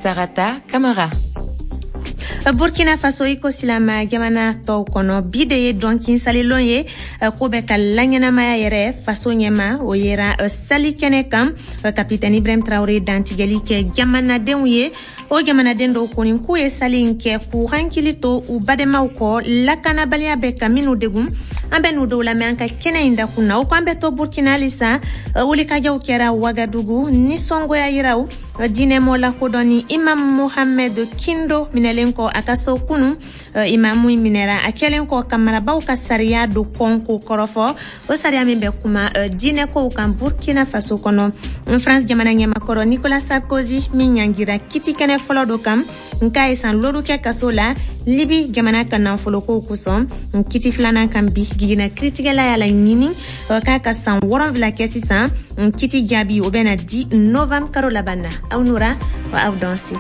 Sarata Kamara. Burkina Faso, i ko silama jamana tɔw kɔnɔ, bi de ye dɔnkin salilon ye ko bɛ ka laɲɛnamaya yɛrɛ faso ɲɛma. O yera sali kɛnɛ kan, kapitɛni Ibrahim Traore dantigɛli kɛ jamanadenw ye. O jamanaden dɔw kɔni k'u ye sali in kɛ k'u hankili to u badenmaw kɔ, lakanabaliya bɛ ka minnu degun. An bɛ n'u dɔw lamɛn an ka kɛnɛ in dakun na. O ko an bɛ to Burkina halisa, wulikajɔw kɛra Wagadugu, nisɔngoya yiraw diinɛmɔ lakodɔnni Imam Mohamed Kindo minɛlen kɔ a ka so kunu. Imamu minɛra a kɛlen kɔ ka marabaw ka sariya do kɔn k'o kɔrɔfɔ, o sariya min bɛ kuma diinɛkow kan Burkina Faso kɔnɔ. France jamana ɲɛmakɔrɔ Nicolas Sarkozy min ɲangira kiti kɛnɛ fɔlɔ dɔ kan nka ye san 5 kɛ kaso la Libi jamana ka nafolokow kosɔn, kiti filanan kan bi, gigina kiritigɛla y'a laɲini k'a ka san 7 kɛ sisan. Kiti jaabi o bɛna di novembre karo laban na. Aw nura wa aw danse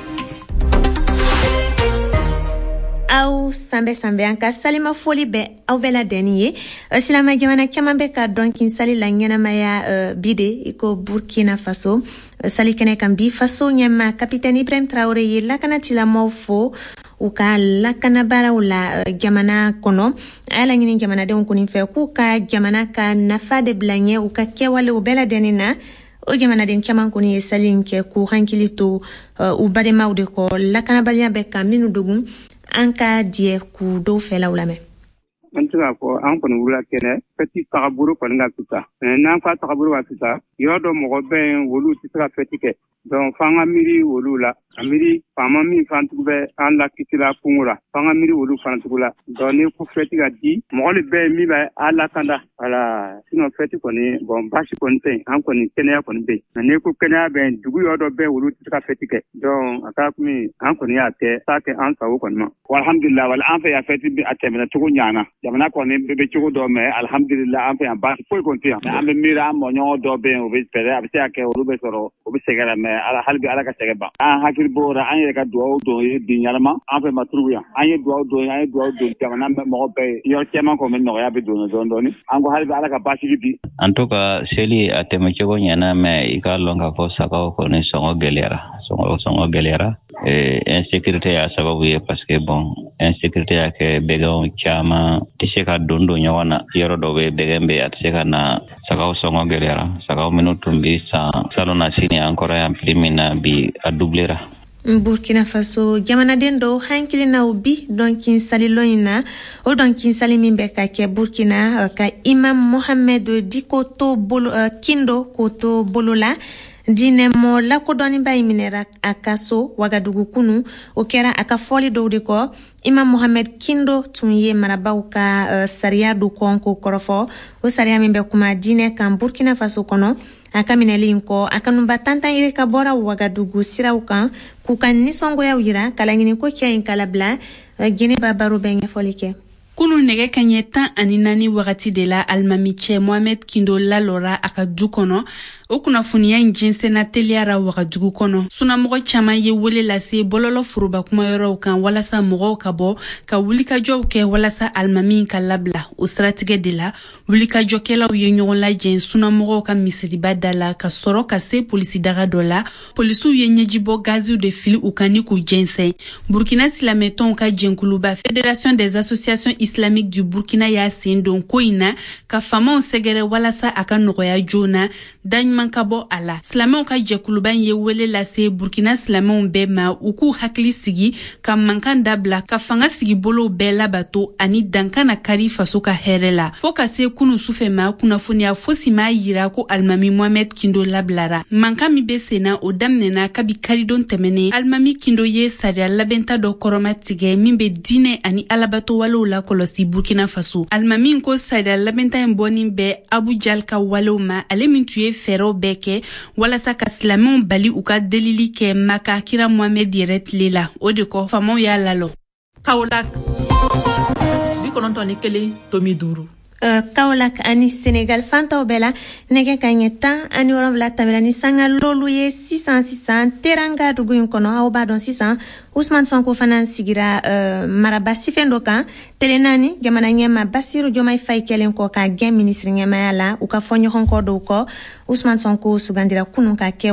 aw sanbɛ sanbɛ. An ka salima foli bɛ aw bɛɛ ladɛnni ye. Silama jamana caman bɛ ka dɔnkin sali la ɲɛnamaya bi de, i ko Burkina Faso. Sali kɛnɛ kan bi, faso ɲɛma kapitɛni Ibrahim Traore ye lakanatilamɔw fo u ka lakanabaaraw la jamana kɔnɔ. A y'a laɲini jamanadenw kɔni fɛ k'u ka jamana ka nafa de bila ɲɛ u ka kɛwalew bɛɛ ladɛnni na. O jamanaden caman kɔni ye sali in kɛ k'u hankili to u badenmaw de kɔ, lakanabaliya bɛ ka minnu dogun. An ka diɲɛ k'u dɔw fɛlaw lamɛn. An tɛ se k'a fɔ an kɔni wulila kɛnɛ, fɛti tagabolo kɔni ka fisa. N'an fa tagabolo ka fisa, yɔrɔ dɔ mɔgɔ bɛ yen, olu tɛ se ka fɛti kɛ. Donc f'an ka miiri olu la, ka miiri faama min fana tugu bɛ an lakisila kungo la, f'an ka miiri olu fana tugu la. Donc ni ko fɛti ka di, mɔgɔ de bɛ yen min bɛ a lakanda. Voilà, sinon fɛti kɔni, bon, baasi kɔni tɛ yen, an kɔni kɛnɛya kɔni bɛ yen. Mais n'i ko kɛnɛya bɛ yen, dugu yɔrɔ dɔ bɛ yen, olu tɛ se ka fɛti kɛ. Donc a kɛra komi an kɔni y'a kɛ, t'a kɛ an sago kɔni ma. Alhamdulillah, wala an fɛ yan fɛti a tɛmɛna cogo ɲana. Jamana kɔni bɛ cogo dɔ, mais alhamdulillah, an fɛ yan baasi foyi kɔni tɛ yan. An bɛ miiri an mɔɲɔgɔn dɔ bɛ yen, o bɛ fɛɛrɛ, a bɛ se ka kɛ olu bɛ sɔrɔ, o bɛ sɛgɛn la, mais ala hali bi ala ka sɛgɛn ban. An hakili b'o la, an yɛrɛ ka dugawu don ye bi ɲɛnama, an fɛ Maturugu yan. An ye dugawu don, an ye dugawu don jamana mɔgɔ bɛɛ ye. Yɔrɔ caman kɔni nɔgɔya bɛ don dɔɔni dɔɔni. An ko hali bi ala ka basigi di. En tout cas, seli a tɛmɛ cogo ɲɛna, mais i k'a lɔn k'a fɔ sagaw kɔni sɔngɔ gɛlɛyara. Sɔngɔ gɛlɛyara. Insécurité y'a sababu ye, parce que bon, insécurité y'a kɛ bɛgɛnw caman tɛ se ka don ɲɔgɔn na. Yɔrɔ dɔw bɛ bɛgɛn bɛ, a tɛ se ka na. Sagaw sɔngɔ gɛlɛyara. Sagaw minnu tun bɛ san salon na sini an kɔrɔ yan prix min na, bi a doublera. Burkina Faso jamanaden dɔw hankilinaw bi dɔnkin salilon in na, o dɔnkin sali min bɛ ka kɛ Burkina ka Imam Mohamed Diko to bolo, Kindo k'o to bolo la. Diinɛmɔ lakodɔnniba in minɛra a ka so Wagadugu kunu. O kɛra a ka fɔli dɔw de kɔ. Imam Mohamed Kindo tun ye marabaw ka sariya do kɔn k'o kɔrɔfɔ, o sariya min bɛ kuma diinɛ kan Burkina Faso kɔnɔ. A ka minɛli in kɔ, a kanuba tantan yiri ka bɔra Wagadugu siraw kan k'u ka nisɔngoyaw yira ka laɲini ko cɛ in kalabila. Gineba baro bɛ ɲɛfɔli kɛ. Kunu nɛgɛ kaɲɛ 14 wagati de la, alimami cɛ Mohamed Kindo lalɔra a ka du kɔnɔ. O kunnafoniya in jɛnsɛnna teliyara Wagadugu kɔnɔ. Sunamɔgɔ caman ye wele lase bɔlɔlɔ foroba kumayɔrɔw kan walasa mɔgɔw ka bɔ ka wulikajɔw kɛ walasa alimami ka labila. O siratigɛ de la, wulikajɔkɛlaw ye ɲɔgɔn lajɛ sunamɔgɔw ka misiriba da la ka sɔrɔ ka se polisidaga dɔ la. Polisiw ye ɲɛjibɔ gaziw de fili u kan ni k'u jɛnsɛn. Burkina silamɛtɔnw ka jɛnkuluba Fédération des associations islamiques du Burkina y'a sen don ko in na ka faamaw sɛgɛrɛ walasa a ka nɔgɔya joona, daɲuman ka bɔ a la. Silamɛw ka jɛkuluba in ye wele lase Burkina silamɛw bɛɛ ma u k'u hakili sigi, ka mankan dabila, ka fanga sigi bolow bɛɛ labato ani dankan na kari faso ka hɛrɛ la. Fɔɔ ka se kunu sufɛ ma, kunnafoniya fosi m'a yira ko alimami Mohamed Kindo labilara. Mankan min bɛ senna, o daminɛna kabi karidon tɛmɛnen. Alimami Kindo ye sariya labɛnta dɔ kɔrɔma tigɛ min bɛ diinɛ ani alabato walew lakɔlɔsi Burkina Faso. Alimami ko sariya labɛnta in bɔnin bɛ Abu Jal ka walew ma, ale min tun ye fɛɛrɛw bɛɛ kɛ walasa ka silamɛw bali u ka delili kɛ Maka kira Mohamed yɛrɛ tile la. O de kɔ, faamaw y'a lalɔ. Kaolack 91.5. Kaolack ani Senegal fantaw bɛɛ la, nɛgɛ ka ɲɛ 17 tɛmɛna ni sanga lolu ye sisan sisan Teranga dugu in kɔnɔ. Aw b'a dɔn sisan Ousmane Sonko fana sigira maraba sifɛn dɔ kan tele naani jamana ɲɛma Basiru Diomaye Faye kɛlen kɔ ka gɛn minisiri ɲɛmaya la u ka fɔ ɲɔgɔn kɔ dɔw kɔ. Ousmane Sonko sugandira kunun ka kɛ